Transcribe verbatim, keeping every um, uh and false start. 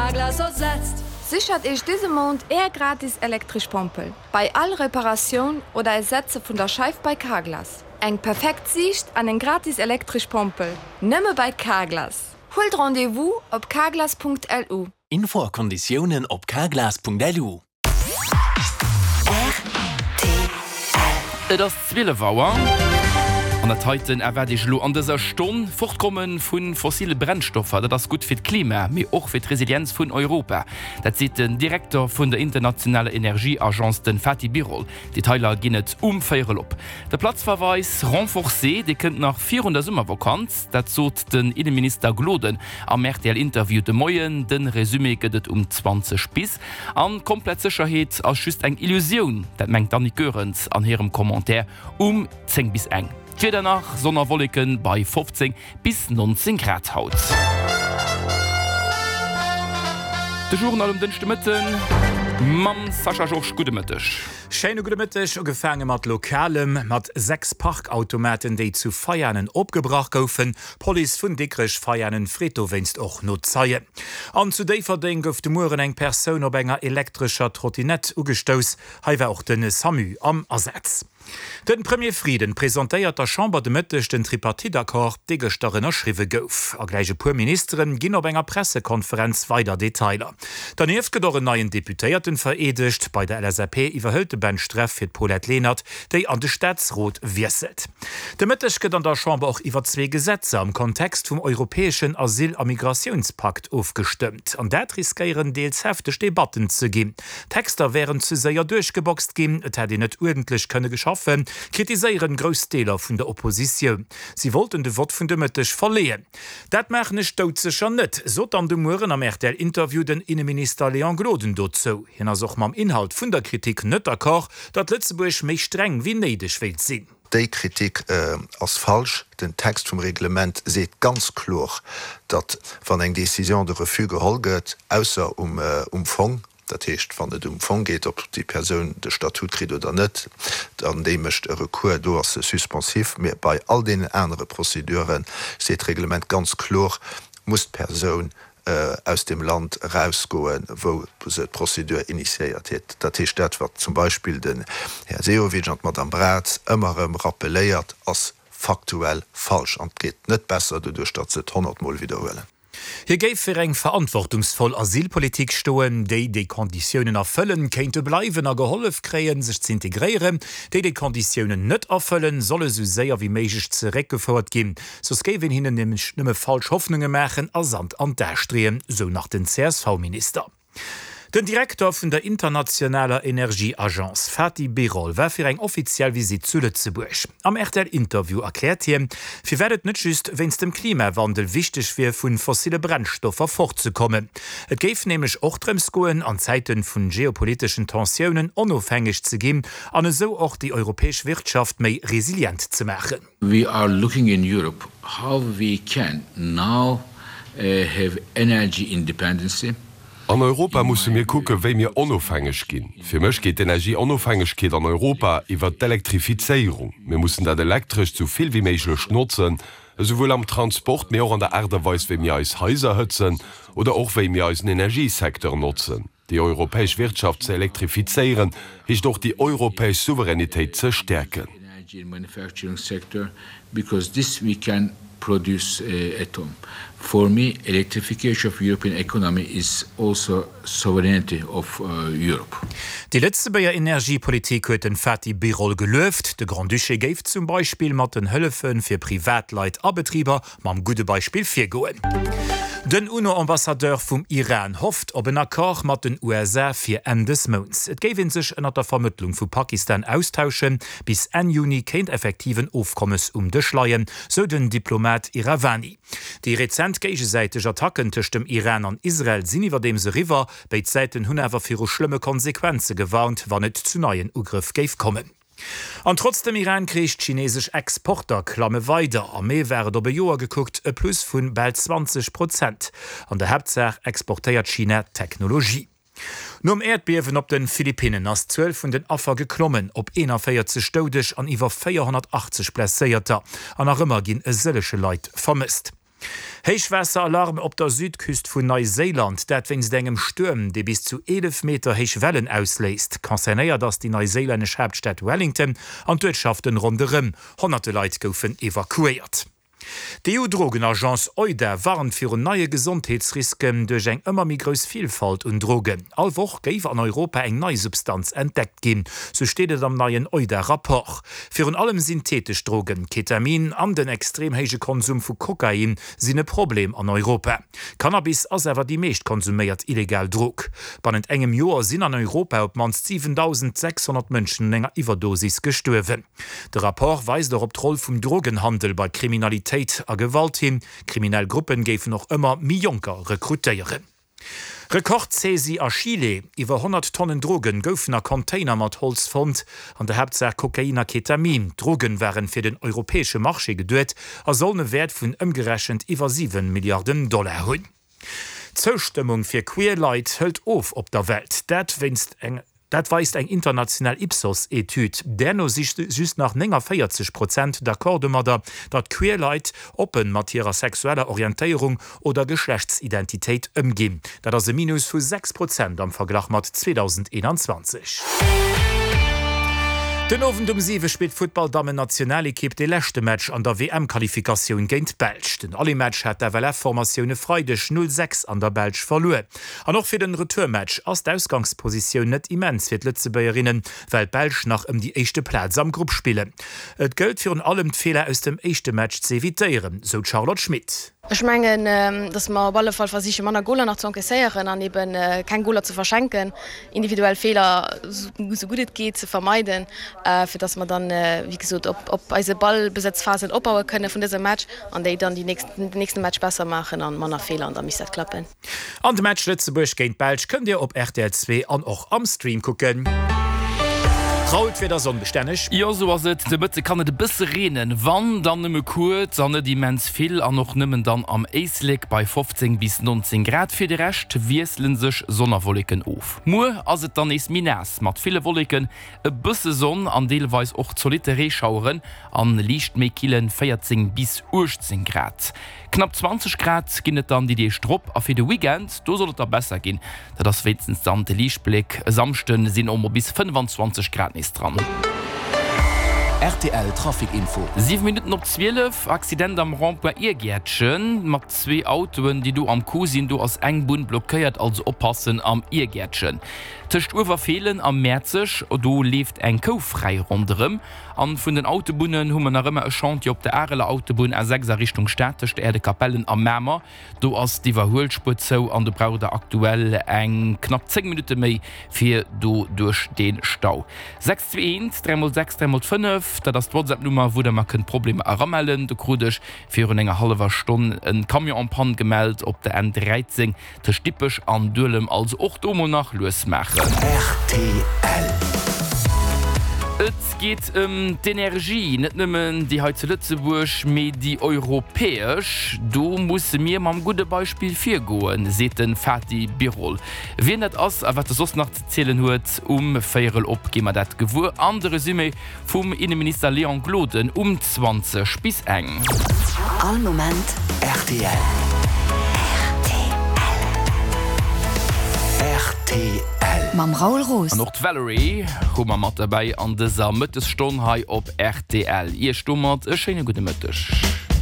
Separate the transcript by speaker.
Speaker 1: Carglass ersetzt.
Speaker 2: Séchert Iech dëse Mount Är gratis elektresch Pompel bei all Reparatioun oder Ersetze vun der Scheif bei Carglass. Eng perfekt Siicht an eng gratis elektresch Pompel, nëmme bei Carglass. Huelt Rendez-vous op carglass.lu.
Speaker 3: Info a Konditiounen op carglass.lu.
Speaker 4: Et ass zwielef Auer. An dat heiten erwaart Iech elo an dëser Stonn, Fortkomme vu fossile Brennstoffer, dat ass gutt fir d'Klima, mee och fir d'Resilienz vun Europa. Dat seet den Direkter vun der internationaler Energieagence, de Fatih Birol. Detailer ginn et um Véierel op. De Platzverweis renforcé, dee kënnt nach virun der Summervakanz. Dat sot den Inneminister Gloden am R T L-Interview de Moien. De Resumé gëtt et um zwanzeg bis. An komplett Sécherheet ass just eng Illusioun, dat mengt d'Annick Goerens an hirem Commentaire um zéng bis eng. D'Wieder nach, Sonn a Wolleken bei fofzéng bis nonzéng Grad haut. De Journal um Dënschdemëtten mam Sascha Georges. Gudde Mëtteg.
Speaker 5: Schéine gudde Mëtteg. Ugefaange mat Lokalem, mat sechs Parkautomaten, déi zu Veianen opgebrach goufen. D'Police vun Dikrech-Veianen freet dowéinst och no Zeien. An zu Déifferdeng gouf de Mueren eng Persoun op enger elektrescher Trottinett ugestouss. Hei war och de SAMU am Asaz. De Premier Frieden presentéiert der Chamber de Mëtteg den Tripartite-Accord, dee gëschter ënnerschriwwe gouf. A gläich e puer Ministere ginn op enger Pressekonferenz weider Detailer. Dernieft gëtt och en neien Deputéierten vereedegt. Bei der L S A P iwwerhëlt de Ben Streff fir d'Paulette Lenert, déi an de Staatsrot wiesselt. De Mëtteg gëtt an der Chamber och iwwer zwee Gesetzer am Kontext vum europäeschen Asyl a Migratiounspakt ofgestëmmt. An dat riskéieren deels hefteg Debatten ze ginn. D'Texter wären ze séier duerchgeboxt ginn, et hätt een net uerdentlech kënne schaffen, kritiséieren grouss Deeler vun der Oppositioun. Si wollten de Vott vun de Mëtteg verleeën. Dat maachen ech doudsécher net, sot dann de Mueren am R T L-Interview den Inneminister Léon Gloden dozou. Hien ass och mam Inhalt vun der Kritik net d'accord, datt Lëtzebuerg méi streng wéi néideg wéilt sinn.
Speaker 6: Déi Kritik ass falsch. Den Text vum Reglement seet ganz kloer, datt wann eng Décision de refus geholl gëtt, ausser um Fong, dat heescht wann et um Fong geet, ob déi Persoun de Statut kritt oder net, dann déi mécht e Recours, do ass se suspensif, mee bei all deenen anere Prozedure seet d'Reglement ganz kloer, muss d'Persoun aus dem Land erausgoen, wou se d'Prozedur initiéiert huet. Dat heescht, dat wat zum Beispill den Här Sehovic an d'Madame Braz ëmmer erëm rappeléiert, ass faktuell falsch an et geet net besser doduerch, datt se et honnertmol widderhuelen.
Speaker 5: Hie géif fir eng verantwortungsvoll Asylpolitik stoen, déi déi Konditiounen erfëllen, kéinte bleiwen a gehollef kréien, sech ze integréieren, déi déi Konditiounen net erfëllen, solle sou séier wéi méiglech zeréckgefouert ginn, soss géif een hinnen nämlech nëmme falsch Hoffnunge maachen a Sand an d'A streeën, sou nach den C S V-Minister. Den Direkter vun der internationaler Energieagence, Fatih Birol, war fir eng offiziell Visitt zu Lëtzebuerg. Am R T L-Interview erkläert hien, firwat et net just wéinst dem Klimawandel wichteg wier, vu fossille Brennstoffer fortzekommen. Et géif nämlech och drëms goen, an Zäite vun geopoliteschen Tensiounen onofhängeg ze ginn an esou och déi europäesch Wirtschaft méi resilient ze maachen.
Speaker 7: We are looking in Europe how we can now have energy independency.
Speaker 8: An Europa musse mir kucke wéi mir onofhängeg ginn. Fir mech geet d'Energieonofhängegkeet an Europa iwwer d'Elektrifizéierung. Mir mussen dat Elektrescht sou vill wéi méiglech notzen, esouwuel am Transport, mee och an der Aart a Weis wéi mir eis Haiser hëtzen oder och wéi mir eisen Energiesecteur notzen. Déi europäesch Wirtschaft ze elektrifizéieren, heescht och déi europäesch Souveränitéit ze stäerken.
Speaker 7: Because this we can produce at home. For me, electrification of European economy is also sovereignty of Europe.
Speaker 5: Déi Lëtzebuerger Energiepolitik huet den Fatih Birol gelueft. De Grand-Duché géif zum Beispill mat den Hëllefe fir Privatleit a Betriber mam gudde Beispill virgoen. Den UNO-Ambassadeur vum Iran hofft op en Accord mat den U S A fir Enn des Mounts. Et géif ee sech ënner der Vermëttlung vu Pakistan austauschen, bis Enn Juni kéint effektiv en Ofkommes um Dësch leien, sou den Diplomat Iravani. Déi rezent géigesäiteg Attacken tëscht dem Iran an Israel sinn iwwerdeems eriwwer, béid Säiten hunn awer viru schlëmme Konsequenze gewarnt, wann et zu neien Ugrëff géif kommen. An trotz dem Iran-Krich, d'chinesesch Exporter klamme weider. Am Mee war et op e Joer gekuckt e Plus vu bal zwanzeg Prozent. An der Haaptsaach exportéiert China Technologie. Nom Äerdbiewen op de Philippinnen ass d'Zuel vun den Affer geklommen op eenanvéierzeg Doudeg an iwwer véierhonnertachtzeg Blesséierter. An nach ëmmer ginn e sëllege Leit vermësst. Héichwaasseralarm op der Südküst vun Neuséiland, dat wéinst engem Stuerm, dee bis zu eelef Meter héich Wellen ausléist. Concernéiert ass déi neuséilännesch Haaptstad Wellington an d'Uertschaften ronderëm. Honnerte Leit goufen evakuéiert. D'EU-Drogenagence EUDA warnt virun neie Gesondheetsrisken duerch eng ëmmer méi grouss Vilfalt un Drogen. All Woch géif an Europa eng nei Substanz entdeckt ginn, sou steet et am neien EUDA-Rapport. Virun allem syntheetesch Drogen, Ketamin an den extrem héije Konsum vu Kokain sinn e Problem an Europa. Cannabis ass awer déi meescht konsuméiert illegal Drog. Bannent engem Joer sinn an Europa op d'mannst siwentausendsechshonnert Mënschen un enger Iwwerdosis gestuerwen. De Rapport weist och op d'Roll vum Drogenhandel bei Kriminalitéit a Gewalt hin. Kriminell Gruppen géifen och ëmmer méi Jonker rekrutéieren. Rekord-Saisie a Chile, Iwwer honnert Tonnen Drogen goufen a Container mat Holz fonnt, an der Haaptsaach Kokain a Ketamin. D'Drogen waren fir den europäesche Marché geduet a sollen e Wäert vun ëmgerechent iwwer siwen Milliarden Dollar hunn. D'Zoustëmmung fir queer Leit hëlt of op der Welt, dat wéinst eng Dat weist eng international Ipsos-Etüd. Där no si just nach néngavéierzeg Prozent d'accord domadder, datt queer Leit oppe mat hirer sexueller Orientéierung oder Geschlechtsidentitéit ëmginn. Dat ass e Minus vu sechs Prozent am Verglach mat zweedausendeenanzwanzeg. Den Owend um siwe spillt d'Futtball-Dammen-Nationalekipp dee leschte Match an der W M-Qualifikatioun géint d'Belsch. Den Aller-Match hat d'F L F-Formatioun e Freideg null sechs an der Belsch verluer. An och fir den Retourmatch ass d'Ausgangspositioun net immens fir d'Lëtzebuergerinnen, well d'Belsch nach ëm déi éischte Plaz am Grupp spillen. Et gëllt virun allem d'Feeler aus dem éischte Match ze evitéieren, sou d'Charlotte Schmit.
Speaker 1: Ech mengen, datt mer op alle Fall versiche manner Goler nach ze encaisséieren an eben keng Goler ze verschenken, individuell Feeler esou gutt et geet ze vermeiden, fir datt mer dann, wéi gesot, op op eise Ballbesëtzphasen opbaue kënne vun dësem Match an déi dann déi nächsten, den nächste Match besser maachen an manner Feeler an da misst dat klappen.
Speaker 5: An de Match Lëtzebuerg géint d'Belsch kënnt Dir op R T L zwee an och am Stream kucken. Raoul, d'Wieder ass onbestänneg.
Speaker 4: Jo, sou ass et. De Mëtte kann et e bësse reenen, wann dann nëmme kuerz an net immens vill an och nëmmen dann am Éislek bei fofzéng bis nonzéng Grad. Fir de Rescht wiessele sech Sonn a Wolleken of. Muer ass et dann nees méi naass mat ville Wolleken, e bësse Sonn an deelweis och zolitte Reeschaueren an liicht méi kille véierzéng bis uechtzéng Grad. Knapp zwanzeg Grad ginn et dann déi Deeg drop a fir de Weekend, do soll et da besser ginn. Dat ass wéinstens dann de Liichtbléck. E Samschde sinn och mol bis fënnfanzwanzeg Grad nees dran.
Speaker 3: R T L Trafic Info.
Speaker 4: Siwe Minutten op zwielef, Accident am Rond-point Iergäertchen mat zwee Autoen, déi do am Coup sinn. Do ass eng Bunn blockéiert, also oppassen am Iergäertchen. Tëscht Uewerfeelen a Mäerzeg, do leeft eng Kou fräi ronderëm. An vun den Autobunnen hu mer nach ëmmer e Chantier op der Areler Autobunn A sechs a Richtung Stad tëscht Äerdekapellen a Mamer. Do ass d'Iwwerhuelspuer zou an do braucht der aktuell eng knapp zéng Minutte méi fir do duerch dee Stau. Sechs zwee eent dräi mol sechs dräi mol fënnef, dat ass d'WhatsApp-Nummer wou der mer kënnt Problemer eramellen. Do krut ech virun enger hallwer Stonn e Camion en panne gemellt op der N dräizéng tëscht Dippech an Duelem. Also och do mol nach lues maachen.
Speaker 3: R T L.
Speaker 4: Et geet ëm d'Energie, net nëmmen déi hei zu Lëtzebuerg, mee déi europäesch. Do musse mir mam gudde Beispill virgoen, seet de Fatih Birol. Wien dat ass a wat e soss nach ze zielen huet, um Véierel op gi mer dat gewuer. An de Resumé vum Inneminister Léon Gloden um zwanzeg bis eng.
Speaker 9: All Moment
Speaker 3: R T L. R T L.
Speaker 9: Mam Raoul Roos.
Speaker 4: An och d'Valerie hu mer mat derbäi an dëser Mëttesstonn hei op R T L. Iech domat e schéine gudde Mëtteg.